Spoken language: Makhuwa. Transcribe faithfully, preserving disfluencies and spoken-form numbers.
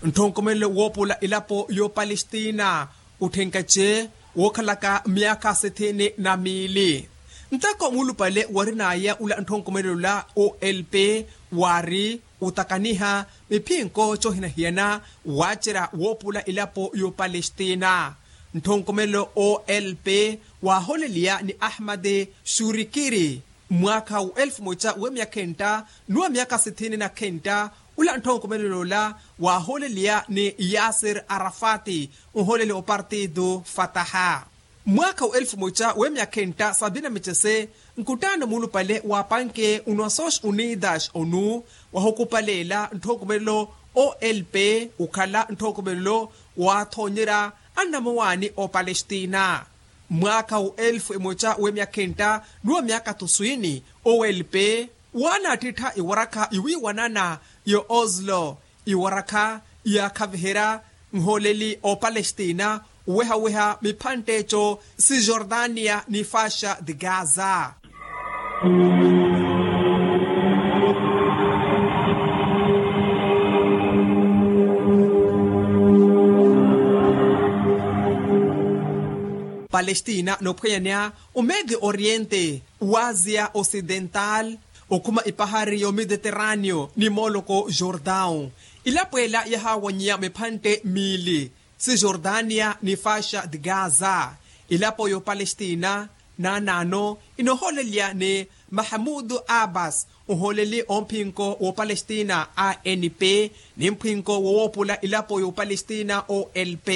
Nthonkomelelo woopula elapo y'opalestina otthenkace wookhalaka myaakha sithini na miili. Ntoko muulupale warin'aya ula nthonkomelelo ola olp waari otakaniha miphinko cohinahiyana waacerya woopula elapo y'opalestina. Nthonkomelelo olp waaholeliya ni ahmad shurikiri mwaakha wa elfu moca w'emyakha entta n'uwa myaakha sithini na khentta. Ula nthonkomelelo ola waaholeliya ni yasir arafati nholeli opartido fataha. Mwaakha wa elfu moca w'emyakha entta sabi na micese nkuttaano muulupale waapanke onuwa sox unidas onu wahukupaleela nthonkomelelo olp okhala nthonkomelelo waathonyerya annamowaani opalestina. Mwaakha wa elfu emoca w'emyakha entta n'uwa myaakha tuswini olp waanaattittha iwarakha iwiiwanana ya oslo iwarakha yaakhaviherya nholeli opalestina owehaweha miphantte eco sijordania ni fasha di gaza. Palestina noophwanyaniha omedio oriente w'asia ocidental okhuma epahari y'omediterraneo ni mooloko jordaw. Elapo ela yahaawanyiya miphantte miili sijordania ni fasha di gaza. Elapo y'opalestina naanaano enooholeliya ni mahamudu abbas oholeli omphinko w'opalestina anp ni mphinko wowoopula elapo y'opalestina olp.